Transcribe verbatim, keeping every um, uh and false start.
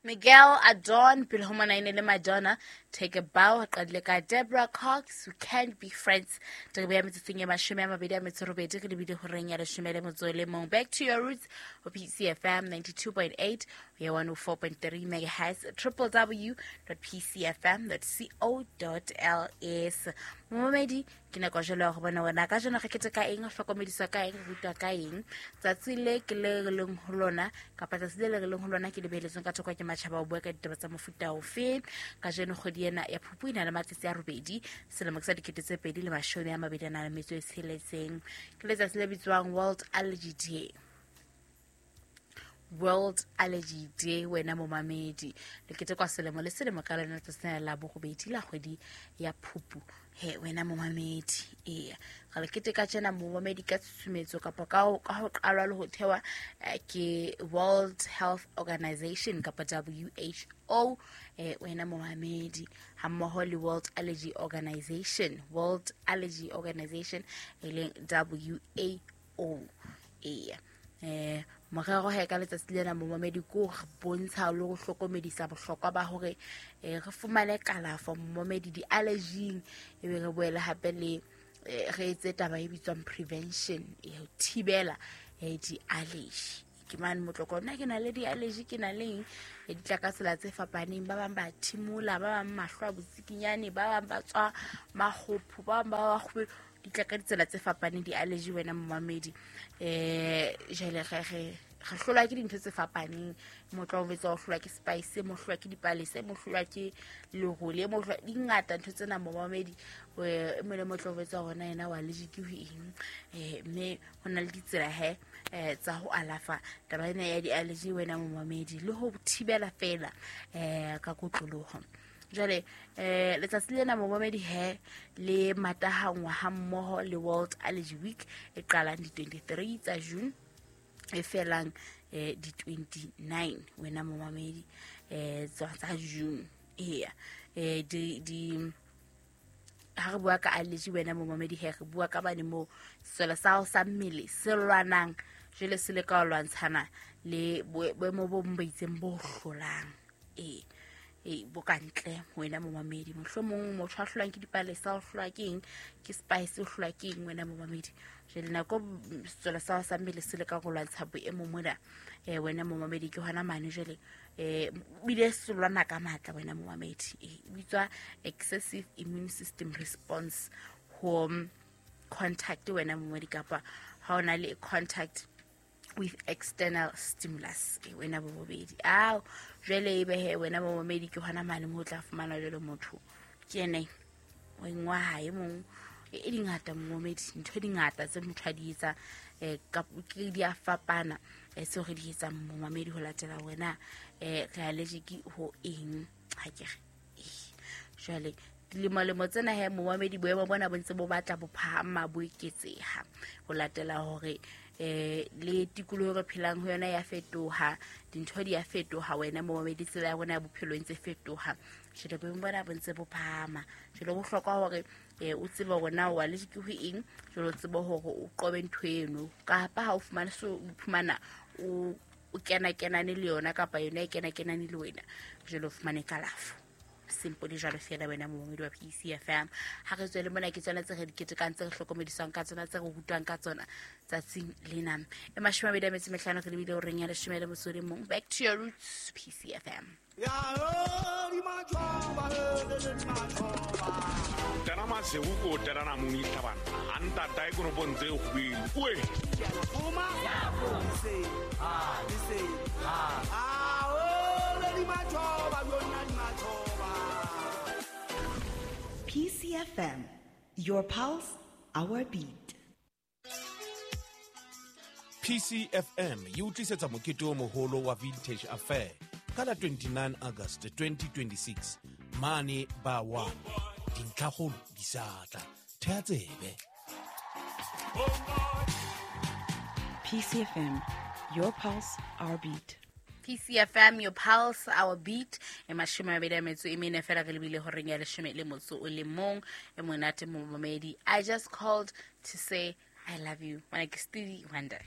Miguel Adon pele ho mona ene le Madonna, Take a Bow. Qadile ka Deborah Cox, We Can't Be Friends. Re beya metsotsong e mashome a mabedi a metso robedi, re lebile horeng ya leshome le motso le mong. Back to your roots ho P C F M ninety-two point eight ya one oh four point three megahertz, triple w dot p c f m dot co dot l s. Momedi ke nako jwale ya ho bona wena ka jeno re keteka eng, re hlokomediswa ka eng, re rutwa ka eng. Tsatsi le ke le re leng ho lona kapa tsatsi le le re leng ho lona ke le beheletsweng ka thoko ke matjhaba ho bua ka ditaba tsa mofuta ofe. Ka jeno kgwedi ena ya Phupu e na le matsatsi a robedi, selemo ke sa dikete tse pedi le mashome a mabedi a nang le metso e tsheletseng. Ke letsatsi le bitswang World Allergy Day. World Allergy Day wena momamedi, le ketekwa selemo le selemo ka lona letsatsi la borobedi la kgwedi ya Phupu. He wena momamedi, eya re le keteka tjena momamedi ka tshusumetso kapa ka ho ka ho qalwa le ho thewa ke World Health Organization kapa W H O, eh wena momamedi, hammoho le World Allergy Organization, World Allergy Organization e leng W A O. Eya eh morero he ka letsatsi lena momamedi ko re bontsha le go hlokomedisa bohlokwa ba hore re fumane kalafo momamedi di-allergy-ing, ebe re boele hape le re etse taba e bitswang prevention, e ho thibela di-allergy. Ke mane motloko nna ke na le di-allergy, ke na le eng, di tla ka tsela tse fapaneng. Ba bang ba thimola, ba bang mahlo a botsikinyane, ba bang ba tswa makgopho, ba bang ba ba kgube, di tla ka ditsela tse fapaneng di-allergy wena momamedi. Eh jwale re re re hlolwa ke dintho tse fapaneng. Motho o betsa o hlolwa ke spice, mo hlolwa ke dipalese, mo hlolwa ke lerole, mo hlolwa di ngata ntho tsena momamedi. E mole motho o betsa hona yena wa allergy ke ho eng, eh mme ho na le ditsela he tsa ho alafa taba ena ya di-allergy wena momamedi, le ho thibela fela eh ka kotloloho. Jwale eh letsatsi lena momamedi he le matahangwa ha mmoho le World Allergy Week e qalang di twenty-three tsa June e felang eh di twenty-nine wena momamedi eh tsa June. Eya eh di di ha re bua ka allergy wena momamedi he re bua ka bane mo sesole sa sa mmele se lwanang jwale se le ka lwantshana le boemo bo bo itseng bo hlolang e e bo ka ntle wena momamedi. Mohlomong motho a hlolwang ke dipalesa, o hlolwa ke eng, ke spice, o hlolwa ke eng wena momamedi. Jwale nako sesole sa sa mmele se le ka go lwantsha boemo mona eh wena momamedi ke hona mane jwale eh bile se lwana ka matla wena momamedi. E bitswa excessive immune system response ho contact wena momamedi, kapa ha ona le contact with external stimulus e wena bobedi. Ao jwale ebe he wena momamedi ke hona mane mo tla fumana jwale motho ke ene o engwa hae mong e dingata momamedi, ntho di ngata tse motho a di etsa eh ka ke di a fapana e se re di etsa momamedi ho latela wena eh re allergic ho eng ha ke re. Jwale dilemo lemo tsena he momamedi boemo bona bo ntse bo batla bo phahama bo eketseha ho latela hore eh le tikoloho re phelang ho yona ya fetoha, dintho di ya fetoha wena momamedi, tsela ya rona ya bophelo e ntse fetoha. Jwale boemo bona bo ntse bo phahama. Jwale ho bohlokwa hore eh o tsebe hore na o allergic ho eng, jwale o tsebe hore o qobe ntho eno, kapa ha o fumane so o iphumana o o kena kenane le yona kapa yona e kena kenane le wena, jwale o fumane kalafo. Simple jwalo fela wena momamedi wa P C F M. Ha re tswele mona ke tsona tse re di ketekang, tse re hlokomediswang ka tsona, tse re rutwang ka tsona tsatsing lena. E mashome a mabedi a metso e mehlano re lebile horeng ya leshome le motso o le mong. Back to your roots, P C F M. P C F M, your pulse, our beat. P C F M e o tlisetsa mokete o moholo wa Vintage Affair ka la twenty-nine August twenty twenty-six mane ba one. Dintlhakgolo di sa tla. Thea tsebe. P C F M, your pulse, our beat. P C F M, your pulse, our beat. E mashome a mabedi a metso e mene fela re lebile horeng ya leshome le motso o le mong. E monate momamedi. I just called to say I love you. Ngwana ke Stevie Wonder.